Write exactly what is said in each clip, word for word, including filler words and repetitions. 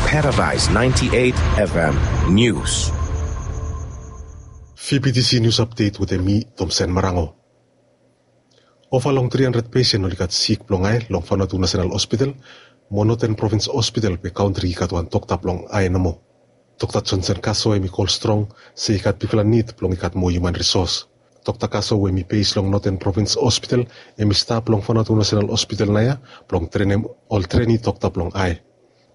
Paradise ninety-eight F M News. Fibitisi nius apdet wetem mi, Tomsen Marango. Ova long tri handred pesen oli gat sik blong ae long Vanuatu National Hospital mo Northern Province Hospital, be kantri i gat wan dokta blong ae nomo. Dokta Johnson Kaso hemi kol strong se i gat bigfala nid blong i gat moa hiuman risos. Dokta Kaso we hemi bes long Northern Province Hospital hemi stap long Vanuatu National Hospital naoia blong trenem ol treni dokta blong ae.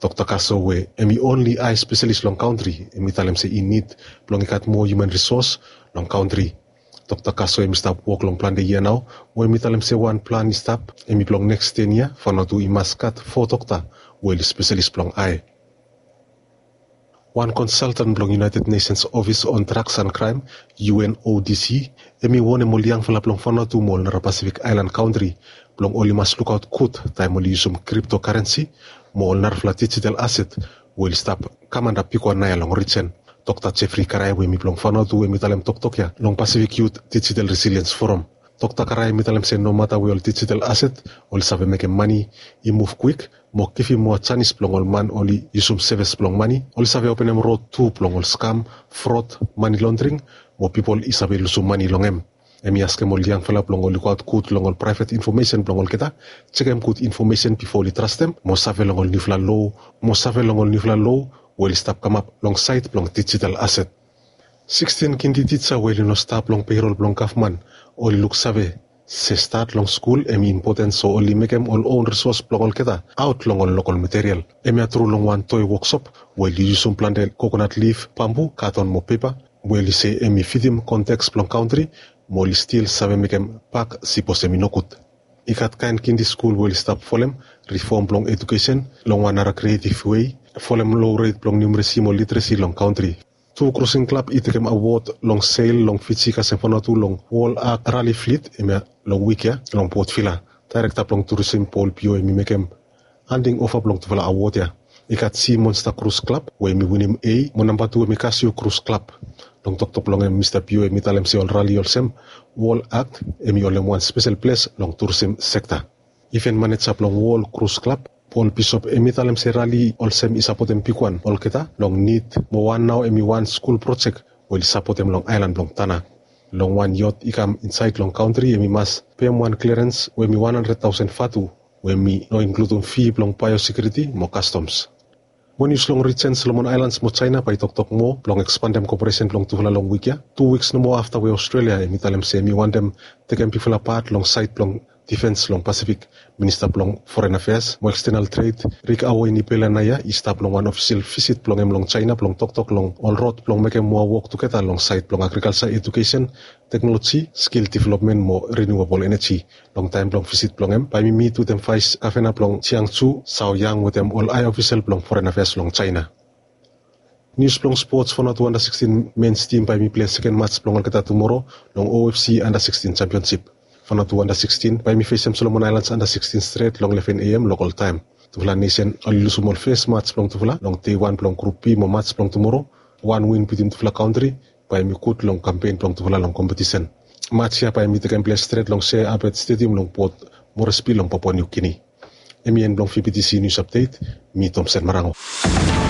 Dokta Kaso we hemi onli ae spesalis long kantri hemi talem se i nid blong i gat moa hiuman risos long kantri. Dokta Kaso hemi stap wok long plante yia nao, we hemi talem se wan plan i stap hemi blong neks ten yia Vanuatu i mas gat fo dokta we oli spesalis blong ae. Wan konsaltan blong United Nations Office on Drugs and Crime, U N O D C, hemi wonem ol yangfala blong Vanuatu mo ol nara Pasifik aelan kantri blong oli mas lukaot gud taem oli yusum kriptokarensi mo ol narafala dijital aset we oli stap kam antap bigwan naoia long rijen. Dokta Jeffrey Karae we hemi blong Vanuatu hemi talem toktok ya long Pasifik Yut Dijital Resiliens Foram. Dokta Karae hemi talem se nomata we ol dijital aset oli save mekem mane i muv kwik mo givim moa janis blong ol man oli yusum sevis blong mane, oli save openem rod tu blong ol skam, frod, mane londring mo pipol i save lusum mane long hem. Hemi askem ol yangfala blong oli goaot gud long ol praevet infomesen blong olgeta, jekem gud infomesen bifo oli trastem mo save long ol niufala lo, mo save long ol niufala lo we oli stap kamap long saed blong dijital aset. Sikstin kindi tija we oli no stap long peirol blong gavman oli luksave se stat long skul hemi impoten, so oli mekem ol own risos blong olgeta aot long ol lokol material. Hemia tru long wan toe woksop we oli yusum plante kokonat lif, bambu, katon mo pepa we oli se hemi fitim konteks blong kantri mo oli stil save mekem bak sipos hemi nogud. I gat kaen kindi skul we oli stap folem rifom blong ejukesen long wan nara krietiv wei, folem lo ret blong niumeresi mo literesi long kantri. Tu krusing klab i tekem awod long sel long Fiji kasem Vanuatu long Wol Akt Rali Flit hemia long wik ya long Port Vila. Daerekta blong turisim Paul Pio hemi mekem handing ova blong tufala awod ya. I gat Sea Monster Cruise Club we hemi winim A, mo namba tu hemi Casio Cruise Club. Long toktok blong hem Mista Pio hemi talem se ol rali olsem Wol Akt hemi holem wan spesel ples long turisim sekta. Iven maneja blong Wol Cruise Club, Paul Bishop, hemi talem se rali olsem i sapotem bigwan olgeta long nid mo wan nao hemi wan skul projek we oli sapotem long aelan blong Tanna. Long wan yot i kam insaed long kantri hemi mas pem wan klerens we hemi wan handred taosen vatu, we hemi no inkludum fi blong baeosekiuriti mo kastoms. Mo nius long rijen Solomon Aelans mo Jaena bae i toktok moa blong ekspandem koperesen blong tufala long wik ya. Tu wiks nomo afta we Australia hemi talem se hemi wantem tekem bigfala pat long saed blong difens long Pasifik, Minista blong Foren Afeas mo Ekstenal Tred, Rick Awo Inipela, naoia i stap long wan ofisel visit blong hem long Jaena blong toktok long ol rod blong mekem moa wok tugeta long saed blong agrikalja, ejukesen, teknoloji, skil developmen mo riniuabol eneji. Long taem blong visit blong hem bae hemi mit wetem vaes gavena blong Jiangsu, Zhao Yang, wetem ol ae ofisel blong Foren Afeas long Jaena. Nius blong spots: Vanuatu anda sikstin mens tim bae hemi plei seken mats blong olgeta tumoro long O F C anda sikstin jampionsip. Vanuatu anda sikstin bae hemi fesem Solomon Aelans anda sikstin stret long leven A M lokol taem. Tufala nesen oli lusum ol fes mats blong tufala long dei wan blong Grup B mo mats blong tumoro, wan win bitim tufala kantri bae hemi gud long kampen blong tufala long kompetisen. Mats ya bae hemi tekem ples stret long Sir Albert Stadium long Port Moresby long Papua New Guinea. Hemi en blong V B T C News Update. Mi Tomsen Marango.